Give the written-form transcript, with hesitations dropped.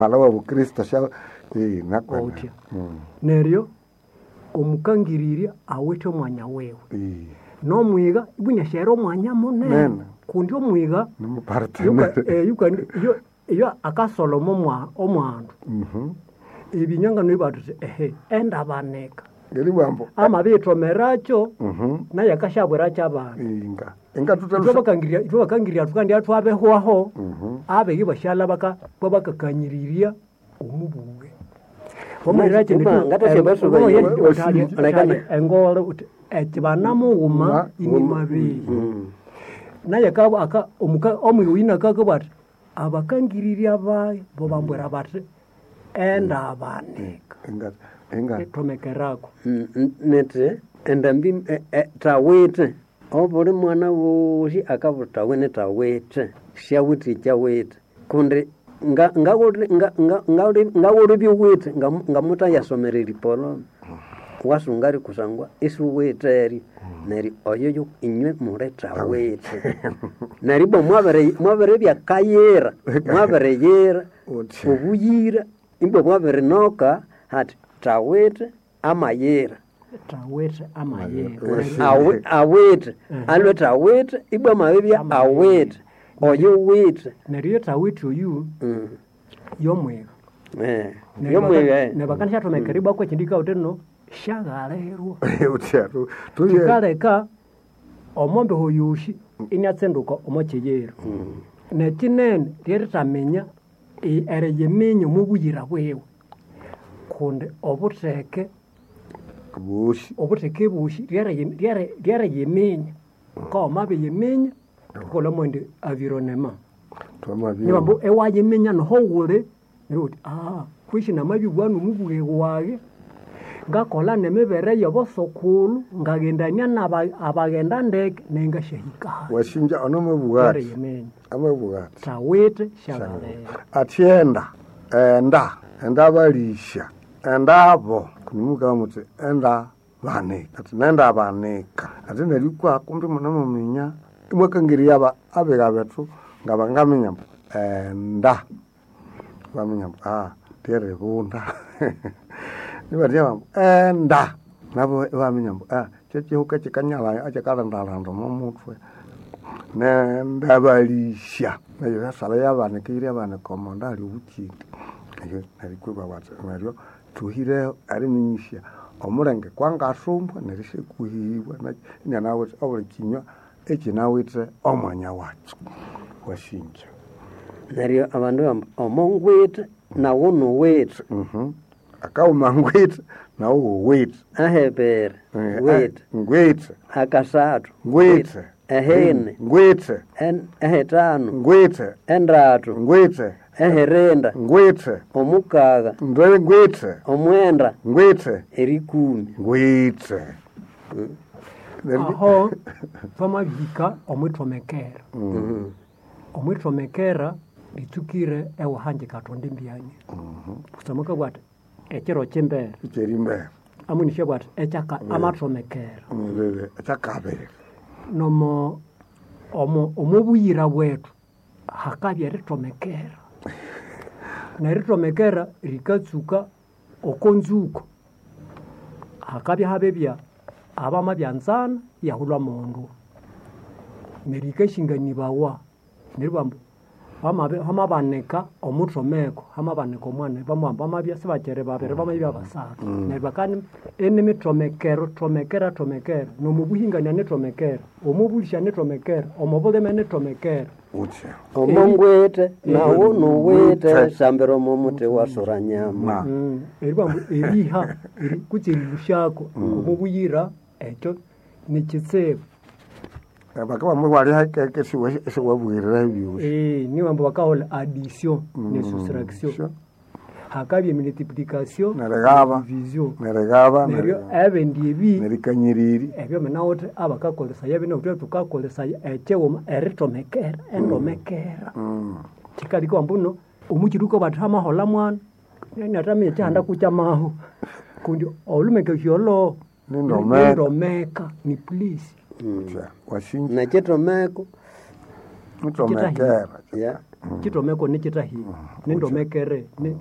Mala wa bukristo sha nakwene. Otya. Neryo omukangirirya awithe omwanya wiwe. Nomwiga ibwiniasyahera omwanya munene Nene. kundi omwiga Ni yuka- mupartenere. yuka- iyo akasoloma omwandu ebinyangano ibathuthi ehe endabanika Ngeri bwambo. amabiyithomerakyo naye akashabwira abandu. Inga. Inga Ithwe tutalusa. bakangirya thukandi athwabehwaho abegi bashalha bakakanyiriria omubuge. Uma, ngathasya basuba ye- Engole uthi ekibana mughuma Ma- inimabeyi. Naye omwiga oyu nakakabugha athi abakangirirya bayo bo bambwira bathi endabanika. Inga. Inga. Ithomekerako. Niti endambi thawithe obuli mwana wosi akabugha thawene thawithe syawithe ekyawithe kundi ngawulibya uwithe ngamuthayasomera eripoloma wasunga ri kusangwa isiwithe eryo neryo oyo yo inywe muli thawithe neryo ibwa mwabiribya kayira mwabiriyira Uthi. obuyira ibwa mwabirinoka hati thawithe amayira. Thawithe amayira. Awithe alwe thawithe ibwa amabibya awithe oyo withe. Neryo thawithe oyu yomwiga. Yomwiga. Nebakanisyathomekera ibwa kwekindi kawuthe no syaghalirwa. Uthi atu. Tuye. Kikaleka omombeho yosi iniatsinduka omo kiyiro. Nekinene lyerithaminya eriyiminya omo buyira bwiwe kundi obutheke Bushi. obutheke bosi lyeriyiminya kawamabiyiminya thukolha mwendi avironema. Twamabye. Nibambu ewayiminya noho wuli neryo wuthi kwisi namabibugha nomubugheghe waghe ngakolha nemibere yobosokulhu ngaghendania abaghenda ndeke nengasyahika hali. Washinja ono mabugati. Eriyiminya. Amabugati. Thawithe syaghalira. Athyenda. Enda. Enda balisha. Endabo. Kunimuka muthi enda banika. Ati nenda banika. Ati neryo kwa kumbi munamuminya imwakangirya aba abiga bethu nga bangaminya mbu enda. Baminya mbu lyeribunda. Nibatya bambu enda. Nabo ibaminya mbu kyekihuka kyikanyalha ekyikalhandalhanda omo muthwe. Nenda balisha. Neryo yasala yabanika eyira yabanika omonda ahali obukyimbi. Neryo nerikwiba bathi neryo thuhireho eriminyisya omulenge kwangasumbwa neryo isyakuhibwa inanawithe obuli kinywa ekyinawithe omwanya wakyo. Wasinja. Neryo abandu bamba omongwithe nawu nuwithe. Akawuma ngwithe nawu wuwithe. Ahebere withe. Ngwithe. Akasathu Ngwithe. Ehene. Ngwithe. Ehitanu. Ngwithe. Endathu. Ngwithe. Ehirinda. Ngwithe. Omukagha. Ndwe ngwithe. Omwenda. Ngwithe. Erikumi. Ngwithe. Aho thwamabihika omwithomekera. Omwithomekera litsukire ewahangi kathonda embyanya. Kusangwa akabugha athi ekiro kyimbere. Ekyerimbere. Amwinisya athi ekyaka amathomekera. Ekyakabiri. Nomo omo omobuyira bwethu hakabya erithomekera. Nerithomekera rikatsuka oko nzuko. Hakabya habibya abamabyanzana iyahulha omundu. Neryo yikashinganibawa neryo ibabugha ambu hamabanika omuthomeko, hamabanika omwana bamabugha ambu bamabya sibakyiri babiri bamabya basathu. Neryo bakani inimithomekero thomekera thomekera nomubuhingania nithomekera, omubulisya nithomekera, omubulime nithomekera. Uthi. Omongwithe nawu nuwithe sambira omo muthi wasura nyama. Eribugha ambu eriha kutse erilusyako omubuyira ekyo nikitsibu. Bakabamwe wali esiwabwirira ebyosi. Nibo ambu bakaholha addition ne soustraction. Hakabya emultiplication Nerigaba. division. Nerigaba. Neryo ebindi ebi Nerikanyiriri. ebyo minawuthe abakakolesaya bino thukakolesaya ekyighuma erithomekera endomekera. Kyikaleka ambu omukyiri bathi hamaholha mwana inathaminya ekyihanda kukyamahu kundi olhumekesya olho Nindomeka. nindomeka ni please. Wasinja. Nekyithomeko Ntomekera. Yeah. Chitomeko nichitahire nindomekere.